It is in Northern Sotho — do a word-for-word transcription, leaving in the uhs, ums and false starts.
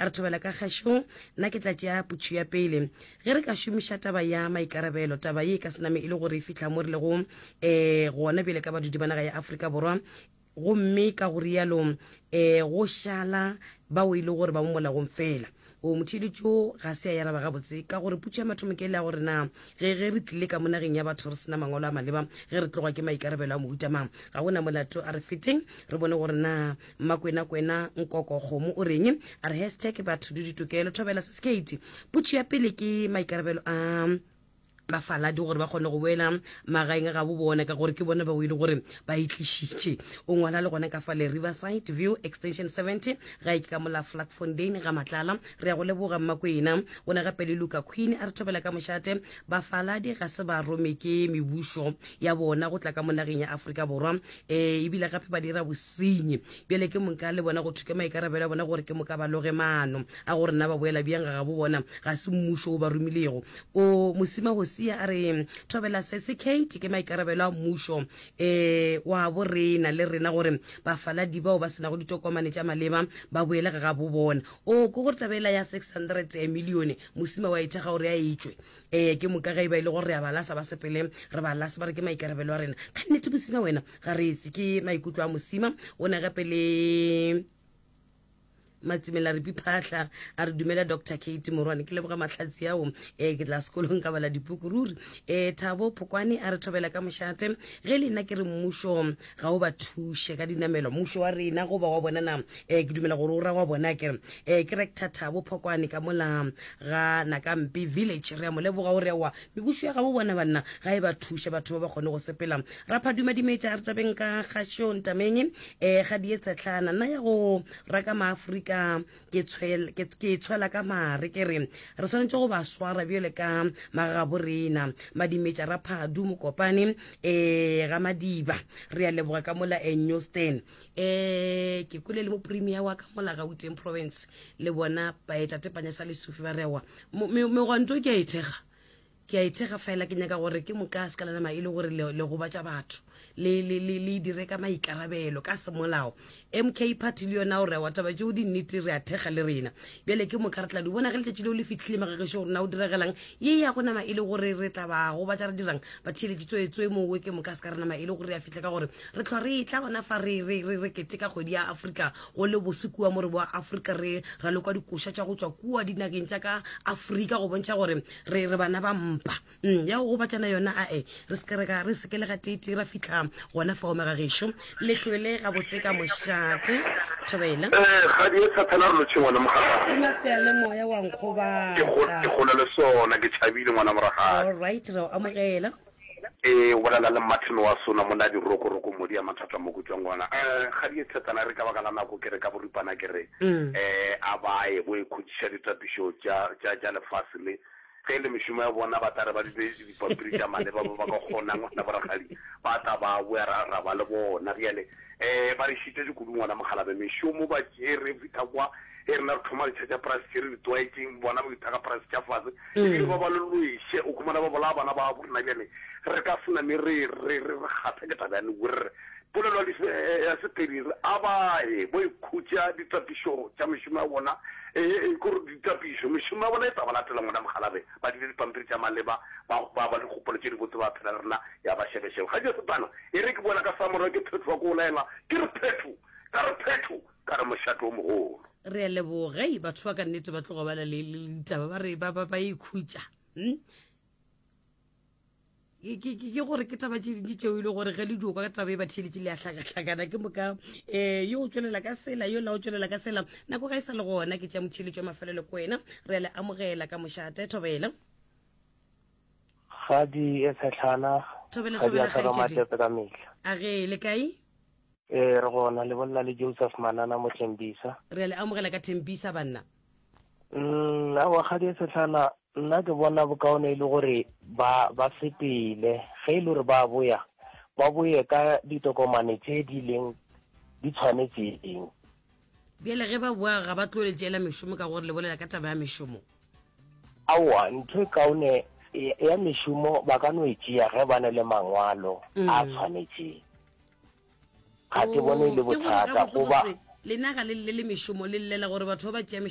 A re thobela ka kgašong, nna ke tla tšea putšhu ya pele. Ge re ka šomiša taba ya maikarabelo, taba ye e ka se name e le gore e fihla mo re lego um gona bjale ka badudi ba naga ya Afrika Borwa, gomme ka go rialo um go šala bao e le gore ba mo molaong fela. O motheeletši wo ga se a e araba gabotse ka gore putšo ya mathomo ke ele ya gore na ge ge re tlile ka mo nageng ya batho re se na mangwalo a maleba ge re tloga ke maikarabelo a mohuta mang. Ga go na molato, a re feteng re bone gore na Mmakwena Kwena Nkoko Kgomo o reng. A re hashtag batho le ditokelo. Thobela Seskate. Putšo ya pele ke maikarabelo a bafaladi gore ba kgone go boela magaeng a gabo bona ka gore ke bona bao e le gore ba e tlišitše. O ngwala le gona ka fale Riverside View Extension seventy ga e ke ka mola Vlakfontein ga Matlala. Re ya go leboga Mmakwena. O ne gape le Luka Queen a re thobela ka mošate. Bafaladi ga se ba rome ke mebušo ya bona go tla ka mo nageng ya Afrika Borwa, e ebile gape ba dira bosenyi. Bjale ke moka le bona go thwe ke maikarabelo a bona gore ke moka ba loge maano a gore na ba boela bjang ga gabo bona. Ga se mmušo o ba romilego. O Mosima Hosia a re, Thobela Sesi Kate, ke maikarabelo a mmušo e wa bo rena le rena gore bafaladi bao ba se nago ditokomane tša maleba ba boele ga gabo bona. O ke gore taba ela ya six hundred milione Mosima wa e thekga gore a e tšwe. Ee, ke moka ge e ba e le gore re a ba lasa ba sepele re ba lase ba re ke maikarabelo a rena. Ka nnete Mosima wena ga re etse ke maikutlo a Mosima. O ne gape le Matsimela Ripi Phaahla a re dumela Doctor Kate Morwane, ke leboga mahlatsi ao. E ke tla sekolong ka bala dipuku ruri. E Thabo Phokwane a re thobela ka mošate, ge le nna ke re mmušo ga o ba thuše ka dinamelo, mmušo wa rena goba wa bona na? E ke dumela gore o ra wa bona ke re. E ke Rector Thabo Phokwane ka mola ga Nakampe Village, re a mo leboga o re aowa mebušo ya gabo bona banna ga e ba thuše batho ba ba kgone go sepela. Raphaduma Dimetša a re tabeng ka kgašo ntameng e ga die tshehlana nna ya go raka maafrika ke tshwel, ke, ke tshwela ka mare ke re re swanetše go ba swara bjale ka magagabo rena. Madimetša Raphadu Mokopane e ga Madiba re a leboga ka mola e Newston e ke kwele le mo premier wa ka mola Gauteng province le bona baetatepanya sa lesufi ba rewa megwanto ke a e thekga ke a e thekga fela ke nyaka gore ke moka se ka la nama e le gore le, le gobatša batho le, le, le, le dire ka maikarabelo ka semolao. M K party le yona o rewa taba tšeo di nnete re a thekga le rena. Bjale ke moka re tla di bona ge letšatši leo le fihlile magagešo gore na o diregelang ye ya go nama e le gore re tla ba gobatša re dirang batheeletši tswetswe mowe ke moka se ka re nama e le gore re a fihla ka gore re hlwa re etla gona fa re, re, re, re keteka kgwedi ya Afrika go le bose kua mo re boa Afrika re raloka dikoša tša go tšwa kua dinageng tša ka Afrika go bontšha gore re re bana ba mpa. Mm, ya go gobatšana yona ae re se ke re ka re se ke le gateetee ra fihla gona fao magagešo. Le hlwele gabotse ka mošate. Thobela. Eh, kgadi e thathana re lotšhe ngwana mogataka. Ke maseyalemoya wa Ke go, nkgobatša. ke gole le sona, ke tšhabile ngwana moragadi. All right, re a o amogela. Ee, o bolela le Martin wa Sona monna dirokoroko modi ya mathata mo ke tšwang gona. Eh, kgadi e thathana re ka baka la nako ke re ka boripana ke re, eh, a ba ye bo ikhutšiša ditapišo tša, tša, tša lefase le. Ge e le mešomo ya bona, ba tla re ba di be dipampiri tša maleba, ba ba ka kgonang, ngwana borakgadi, ba tla ba boya ra, ra ba le bona. Bjale, um ba re šitetše kudu, ngwana mokgalabje. Mešomo ba tšere, fihla kwa, ge rena re thoma ditšha tša polase tše re di tlwaetšeng, bona ba ithaga polase tša fase, ebile ba ba le lweše, o khumana ba bolaya bana ba bo rena. Bjale, re ka se name re, re, re, re kgatha ke taba ya Newere. Polelo ya Sepedi e re, A ba ye bo ikhutša ditapišo tša mešomo ya bona, ee, ke gore ditapišo, mešomo ya bona e tla ba latela ngwana mokgalabje, ba dile dipampiri tša maleba, ba, ba ba le dikgopolo tše dibotse, ba phela le rena, ya ba šebešebe. Ga Jesu tana, e re ke boela ka samora ke phethoga ke o laela, ke re phetho, ka re phetho, ka re mošate o mogolo. Re a leboga. Hei, batho ba ka nnete ba tloga ba na le, le ditaba, ba re ba, ba, ba ikhutša. Hm? Ke, ke, ke, ke gore ke taba tše dintši tšeo e le gore ge le dio kwa ka taba e ba theeletše le ya hlakahlakana ke moka um yo o tšwelela ka sela yo la o tšwelela ka sela nako ga e sa le gona ke tša motheeletši wa mafelelo ko wena re a le amogela ka mošate thobela. Kgadi e tshehlana, Thobela, kgadi ya thobela, ka kgaetšedi. matepe ka mehla. A ge, le kae? Ee, re gona, le bolela le Joseph Manana mo Thembisa. Re a le amogela ka Thembisa, banna. Mm, aowa, kgadi e tshehlana, nna ke bona bokaone e le gore ba, ba sepele. Ge e le gore ba boya, ba boye ka ditokomane tše di leng di tshwanetšeng. Bjale ge ba boa ga ba tlo le tšeela mešomo ka gore le bolela ka taba ya mešomo? Aowa, ntho e kaone ya mešomo ba ka no e tšea ge ba na le mangwalo a tshwanetšeng. Ga ke bone e le Oh, ke gore bothata goba. gabotsebotse lena ga le llele mešomo, le llela gore batho ba ba tšea mešomo.